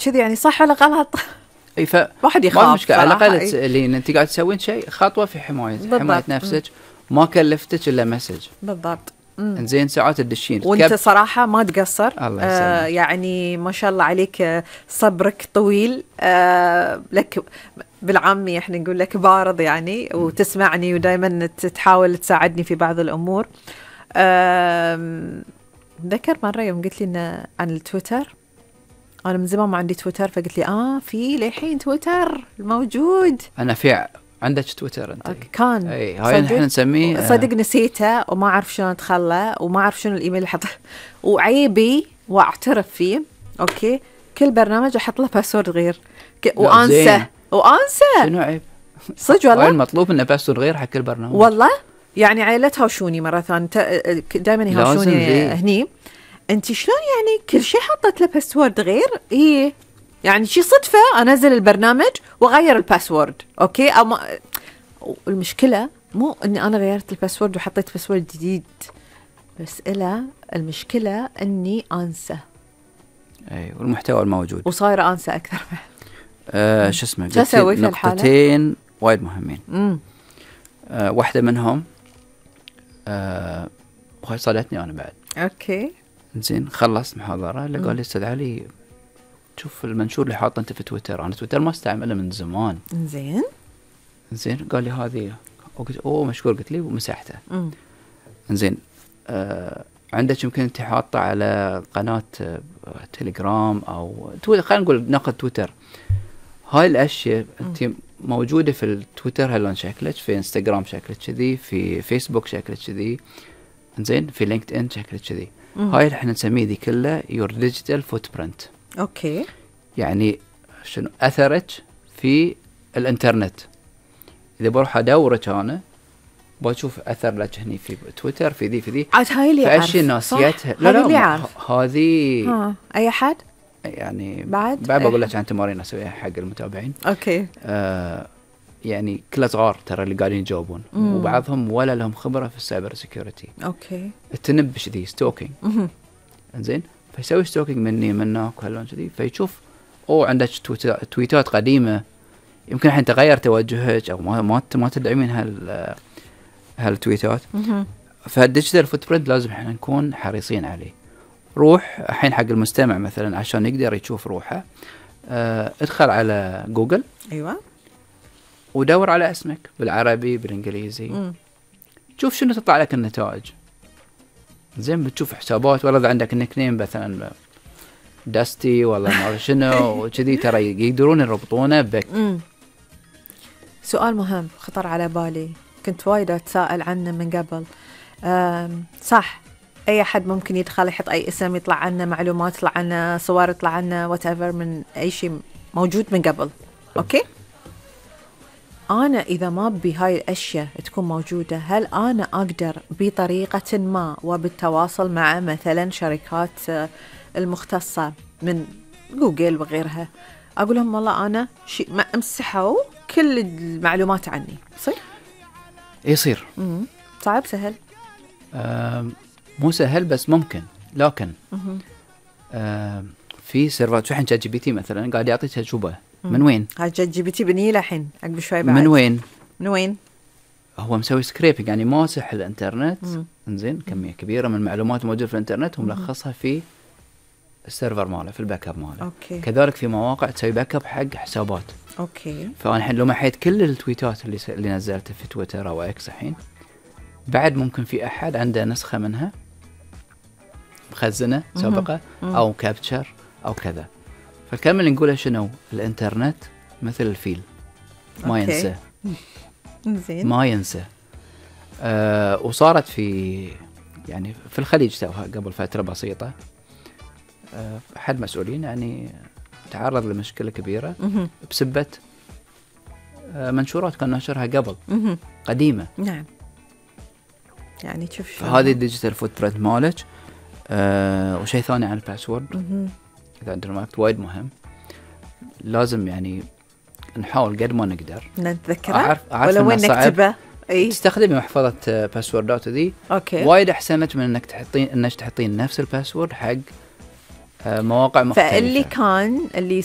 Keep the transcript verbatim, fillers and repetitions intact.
كذي يعني صح ولا غلط؟ اي ف واحد يخاف ما مشكله، على الاقل إيه. اللي انت قاعد تسوين شيء خطوه في حمايه بالضبط. حمايه نفسك، ما كلفتك الا مسج. بالضبط. انزين ساعات تدشين وانت صراحه ما تقصر. الله آه يعني ما شاء الله عليك، آه صبرك طويل. آه لك بالعامي احنا نقول لك بارض يعني، وتسمعني ودائما تحاول تساعدني في بعض الامور. آه ذكر مره يوم قلت لي عن التويتر، انا من زمان ما عندي تويتر، فقلت لي اه في للحين تويتر موجود. انا في عندك تويتر انت؟ كان اي هاي نحن نسميه صدق نسيته وما اعرف شلون ادخله وما اعرف شنو الايميل اللي حطه، وعيبي واعترف فيه. اوكي كل برنامج احط له باسورد غير ك... وانسى وانسى. شنو عيب؟ صدق والله المطلوب انه باسورد غير حق كل برنامج والله. يعني عيلة هاوشوني مرة ثانية دائما يهاوشوني هني، انت شلون يعني كل شيء حطت له باسورد غير؟ ايه يعني شي صدفة انزل البرنامج واغير الباسورد. اوكي او ما... المشكلة مو اني انا غيرت الباسورد وحطيت باسورد جديد، بس إلا المشكلة اني انسى. اي والمحتوى الموجود وصايرة انسى اكثر. آه شو اسمه شو اسوي في الحالة؟ نقطتين وايد مهمين. امم آه واحدة منهم آه وهي صادتني انا بعد. اوكي زين خلصت محاضرة اللي قال لي استاذ علي شوف المنشور اللي حاطه انت في تويتر، انا تويتر ما استعمله من زمان. زين زين قال لي هذه، قلت اوه مشكور، قلت لي ومسحته. زين آه عندك يمكن انت حاطه على قناه آه تليجرام او تويتر، خلينا نقول ناخذ تويتر. هاي الاشياء انت موجوده في التويتر هلون شكلك، في انستغرام شكلك كذي، في فيسبوك شكلك كذي، زين في لينكد ان شكلك كذي. هاي اللي احنا نسميه ذي كلها يور ديجيتال فوت برنت. اوكي يعني شنو اثرك في الانترنت. اذا بروح ادورك انا بشوف اثر لك هني في تويتر، في ذي في ذي عاد هاي اللي فاشي ناسيتها. لا لا هذه ها اي حد يعني بعد بعد بقول لك عن تمارين اسويها حق المتابعين. اوكي آه يعني كلها صغار ترى اللي قاعدين يجاوبون، مم. وبعضهم ولا لهم خبره في السايبر سيكيورتي. اوكي التنبش ذي ستوكينج. انزين فيسوي ستوكينج مني منك وهاللون كذي، فيشوف او عندك تويتات قديمه يمكن الحين تغير توجهك او ما ما ما تدعمين هال هالتويتات. فالديجيتال فوت برنت لازم احنا نكون حريصين عليه. روح الحين حق المستمع مثلا عشان يقدر يشوف روحه، اه ادخل على جوجل. ايوه ودور على اسمك بالعربي بالانجليزي. مم. شوف شنو تطلع لك النتائج. زين بتشوف حسابات، ولا اذا عندك نيك نيم مثلا داستي ولا ما شنو وكذي ترى يقدرون يربطونه بك. مم. سؤال مهم خطر على بالي، كنت وايد اتساءل عنه من قبل. صح اي احد ممكن يدخل يحط اي اسم يطلع عنه معلومات، يطلع عنه صور، يطلع عنه وات ايفر من اي شيء موجود من قبل. اوكي أنا إذا ما بي هاي الأشياء تكون موجودة، هل أنا أقدر بطريقة ما وبالتواصل مع مثلا شركات المختصة من جوجل وغيرها أقول لهم والله أنا شيء ما أمسحوا كل المعلومات عني؟ صح؟ يصير. مم. صعب سهل؟ مو سهل بس ممكن، لكن في سيرفرات شو الحين شات جي بي تي مثلا قاعد يعطي تجربة. من وين؟ هاي شات جي بي تي بني الحين عقب شوي بعد. من وين؟ من وين؟ هو مسوي سكريبنج يعني ماسح الانترنت. انزين كمية كبيرة من المعلومات موجودة في الانترنت وملخصها في السيرفر ماله، في الباك اب ماله. أوكي. كذلك في مواقع تسوي باك اب حق حسابات. اوكي. فانا الحين لو محيت كل التويتات اللي س... اللي نزلتها في تويتر او اكس الحين، بعد ممكن في احد عنده نسخة منها مخزنة سابقة او كابتشر او كذا. فالكلام اللي نقوله شنو؟ الانترنت مثل الفيل ما أوكي. ينسى. زين. ما ينسى. آه وصارت في يعني في الخليج توها قبل فترة بسيطة، آه أحد مسؤولين يعني تعرض لمشكلة كبيرة بسبة آه منشورات كان ناشرها قبل قديمة. نعم. يعني تشوف شو هذه الديجيتال فوت برنت مالك. آه وشيء ثاني عن الباسورد، إذا عندنا وقت وايد مهم، لازم يعني نحاول قد ما نقدر نتذكره. أعرف أعرف ولا وين نكتبه. اي تستخدمي محفظة باسوردات ذي. اوكي. وايد احسن لك من انك تحطين انك تحطين نفس الباسورد حق آه، مواقع مختلفة. فاللي كان اللي